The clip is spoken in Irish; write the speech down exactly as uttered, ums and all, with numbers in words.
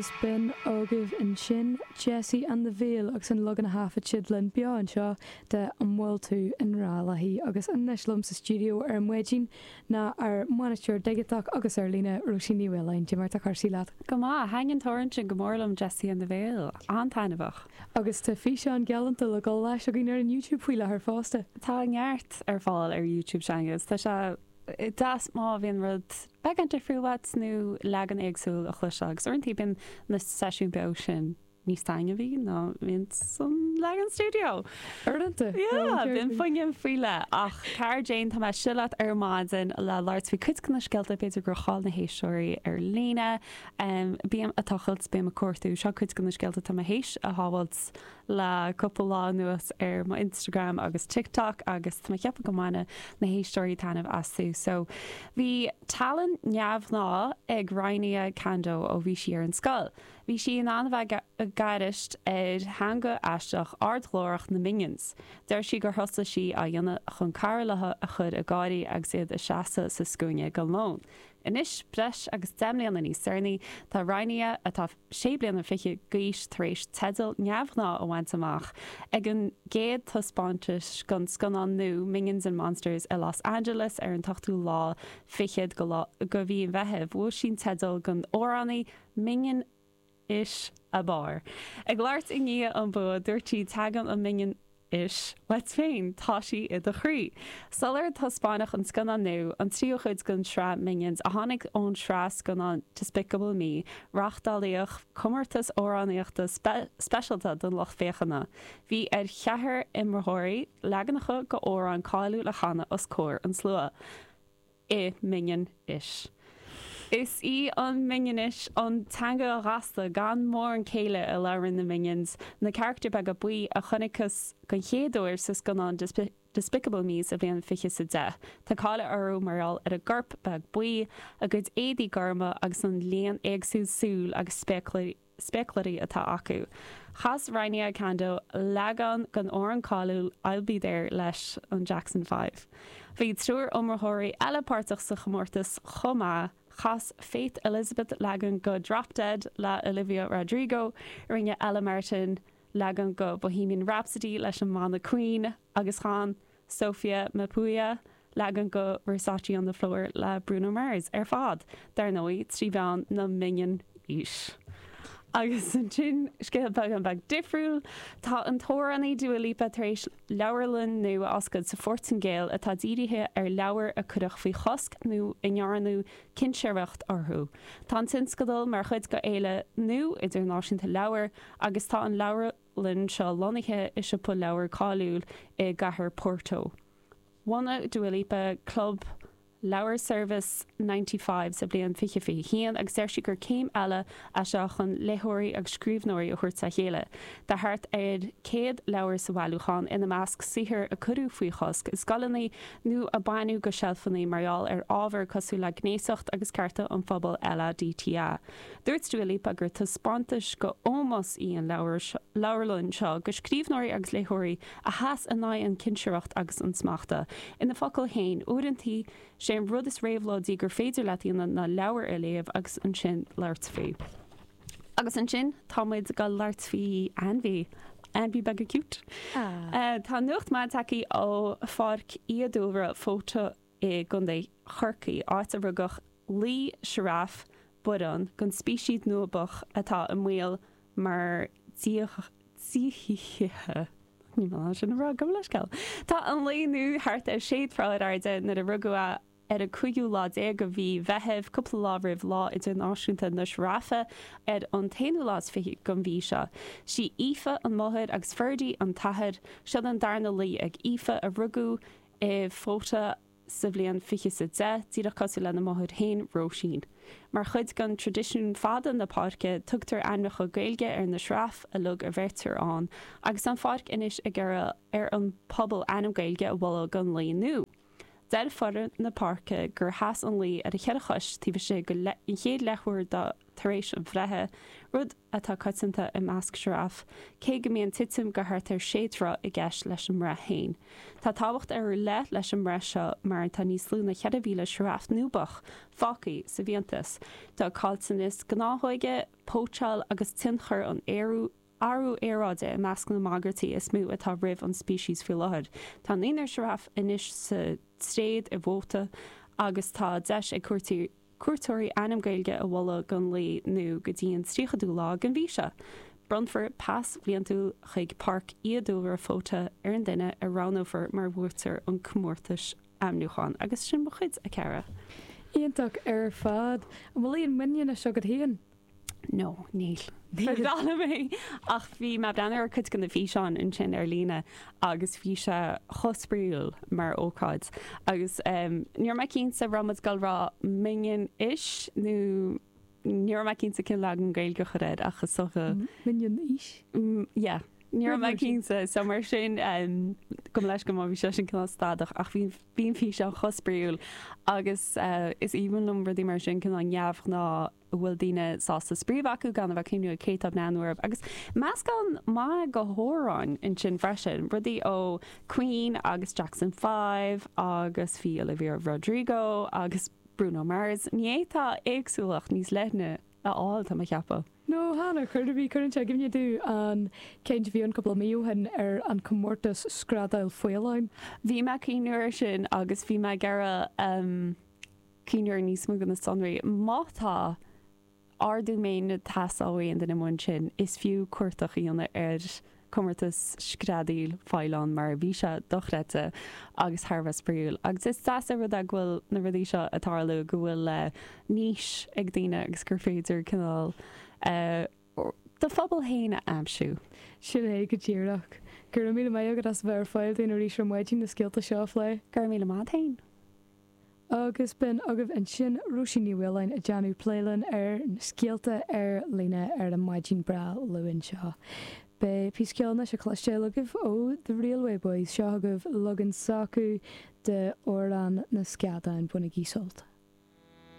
B'in agaibh ansin Jessie and the Veil agus an leagan a thaifead siad linn beo anseo de An bhfuil tú i ngrá léi agus anois liom sa stiúideo ar maidin ná ár mbainisteoir digiteach agus ar líne Róisín Ní Mhaoláin Cad é mar atá cúrsaí leat. Go maith thaitin an t-amhrán sin go mór liom Jessie and the Veil an-taitneamhach. Agus tá físeán galánta le dul leis againn ar an YouTube faoi láthair fosta. Tá neart ar fáil ar YouTube seangus Tá sé deas má bhíonn rud beagán difriúil uait nó leagan éagsúil a chloisteáil agus uaireanta bíonn na seisiún beo sin níos taitneamhaí ná bíonn san leagan studio. Uaireanta Bíonn fuinneamh faoi leith ach cara Jane tá mé silat ar maidin le labhairt faoi cuid de na scéalta b'fhéidir gur chaill na héisteoirí ar líne. Um, Bím ag tochailt bím ag cuartú seo cuid de na scéalta tá mé théis a shábháilt le cúpla lá anuas ar mo Instagram agus TikTok agus tá mé ag ceapadh go mbainfidh na héisteoirí taitneamh astu. So bhí tallann neamhghnách ag Rainia Kando ó bhí sí ar an scoil. Bhí sí in ann bheith ag gaireacht ar theanga aisteach ardghlórach na Minions. Deir sí gur thosaigh sí á dhéanamh chun cara léi a chur ag gáirí agus iad ag seasamh sa scuaine go lón. Anois breis agus deich mbliana níos deireanaí tá Rainia atá sé bliana fiche d'aois tar éis teideal neamhghnách a bhaint amach ag an gcéad taispeántas den scannán nua Minions and Monsters i Los Angeles ar an ochtú lá fichead go mhí an Mheithimh bhuaigh sí an teideal don amhránaí Minion-ish ab fhearr. Ag labhairt i ndiaidh an bua dúirt sí tagann an Minion-ish uait féin tá sí i do chroí. Sular taispeánadh an scannán nua an tríú chuid den tsraith Minions a tháinig ón tsraith scannán Despicable Me, reáchtáladh comórtas amhránaíochta spe speisialta don lucht féachana. Bhí ar cheathrar iomaitheoirí leaganacha d'amhrán cáiliúil a chanadh os comhair an tslua. I Minion-ish. Is í an Minionish an teanga ghasta gan mórán céille a labhrann na Minions, na carachtair beaga buí a chonacthas den chéad uair sa scannán Despicable Me sa bhliain fiche sa deich. Tá cáil orthu mar gheall ar a gcorp beag buí, a gcuid éadaí gorma agus an líon éagsúil súl agus spéaclaí spéaclaí atá acu. Chas Rainia Kando leagan den amhrán cáiliúil I'll be there leis an Jackson Five. Bhí triúr iomaitheoirí eile páirteach sa chomórtas chomh maith chas Faith Elizabeth leagan de Drop Dead le Olivia Rodrigo, rinne Ella Martin leagan de Bohemian Rhapsody leis an mbanna Queen agus chan Sophia Mapuia leagan de Versace on the Floor le Bruno Mars ar fad, dar ndóigh trí mheán na Minion-ish. Agus ansin scéal beag beag difriúil tá an t-amhránaí Dua Lipa tar éis leabharlann nua a oscailt sa Phortaingéil atá dírithe ar leabhair a cuireadh faoi chosc nó a ndearnadh cinsireacht orthu. Tá an tionscadal mar chuid de fhéile nua idirnáisiúnta leabhar agus tá an leabharlann seo lonnaithe i siopa leabhar cáiliúil i gcathair Porto. Bhunaigh Dua Lipa Club Leabhar Service ninety-five sa bhliain fiche fiche haon agus deir sí gur céim eile é seo chun léitheoirí agus scríbhneoirí a thabhairt le chéile. Tá thart ar céad leabhar sa bhailiúchán ina measc saothair a cuireadh faoi chosc i scoileanna nó a baineadh de sheilfeanna mar gheall ar ábhar cosúil le gnéasacht agus cearta an phobail L A D T A. Dúirt Dua Lipa gur taispeántas d'ómós í an leabharlann seo do scríbhneoirí agus léitheoirí a sheas in aghaidh an chinsireacht agus an smachta. Ina focail féin uaireanta sé an rud is réabhlóidí gur féidir leat a dhéanamh ná leabhar a léamh agus ansin labhairt faoi. Agus ansin tá muid ag labhairt faoi ainmhí. Ainmhí beag cute. Ah. Uh, tá nuacht mhaith tagtha ó Pháirc Fhiadhúlra Fota i gContae Chorcaí áit a rugadh lao sioráf baineann den speiceas Núibiach atá i mbaol mar díothaithe. Ní má sin rá go leisceil. Tá an lao nua thart ar sé troigh ar airde nuair a rugadh é ar an cúigiú lá déag de mhí Mheithimh cúpla lá roimh lá idirnáisiúnta na sioráfe ar an t-aonú lá is fiche den mhí seo. Sí Aoife an mháthair agus Ferdy an t-athair seo an darna lao ag Aoife a rugadh i Fota sa bhliain fiche sa deich díreach cosúil lena máthair féin Róisín. Mar chuid den traidisiún fada na páirce tugtar ainmneacha Gaeilge ar na sioráif uilig a bheirtear ann, agus an pháirc anois ag iarraidh ar an pobal ainm Gaeilge a mholadh don lao nua. Deir foireann na páirce gur sheas an lao ar a cheithre chois taobh istigh de an chéad leathuair tar éis a bhreithe, rud atá coitianta i measc sioráf, cé go mbíonn titim go thart ar sé troigh i gceist leis an mbreith féin. Tá tábhacht ar leith leis an mbreith seo mar tá níos lú ná ceithre mhíle sioráf Núibeach fágtha sa bhfiántas. Tá caillteanas gnáthóige, póitseáil agus tionchar an athrú aeráide i measc na mbagairtí is mó atá roimh an speiceas faoi láthair. Tá naonúr sioráf anois sa tréad i bhFóta agus tá deis ag cuairteoirí ainm Gaeilge a mholadh don lao nó go dtí an tríochadú lá den mhí seo. Bronnfar pas bliantúil chuig Páirc Fhiadhúlra Fóta ar an duine a roghnófar mar bhuaiteoir an chomórtais ainmniúcháin. Agus sin mo chuid, a chara. Iontach ar fad. An bhfuil aon minion anois agat féin? No, níl. Ba bhreá liom é. Ach bhí mé ag breathnú ar cuid de na físeáin ansin ar líne agus bhí sé chomh spraíúil mar ócáid. Agus ní raibh mé cinnte raibh muid ag dul rá minion-ish nó ní raibh mé cinnte cén leagan Gaeilge a chur air ach is dócha. Minion-ish? Yeah. Ní raibh mé cinnte. So mar sin gabh mo leithscéal má bhí sé sin cineál stadach ach bhí bhí an físeán chomh spraíúil agus is aoibhinn liom rudaí mar sin cineál neamhghnáth a bhfuil daoine sásta spraoi a bheith acu gan a bheith ag cuimhniú ar cé atá ag breathnú orthu. Agus meascán maith de hamhráin ansin freisin, rudaí ó Queen agus Jackson Five agus bhí Olivia Rodrigo agus Bruno Mars. Ní fhéadfá éagsúlacht níos leithne a fháil, tá mé a cheapadh. No, chan ar chor ar bith. Cuireann sé i gcuimhne domh an ceann a bhí ann cúpla mí ó shin ar an comórtas screadaíl faoileáin. Bhí mé ag cuimhniú air sin agus bhí mé ag iarraidh. cuimhniú ar níos mó de na sonraí. Má tá ardú méine ag teastáil ó aon duine amuigh ansin, is fiú cuartach a dhéanamh ar chomórtas screadaíl faoileán mar bhí sé dochreidte agus thar a bheith spraíúil. Agus is deas an rud é go bhfuil na rudaí seo ag tarlú, go bhfuil niche ag daoine agus gur féidir cineál do phobal féin a aimsiú. Sin é go díreach. Go raibh míle maith agat as a bheith ar fáil dúinn arís ar maidin na scéalta seo a phlé. Go raibh míle maith agat féin. Agus b'in agaibh ansin Róisín Ní Mhaoláin ag déanamh plé linn ar na scéalta ar líne ar an maidin breá Luain seo. Beidh píosa ceoil anois le cloisteáil agaibh ó The Railway Boys. Seo agaibh leagan s'acu de Amhrán na Scadán. Bainigí sult.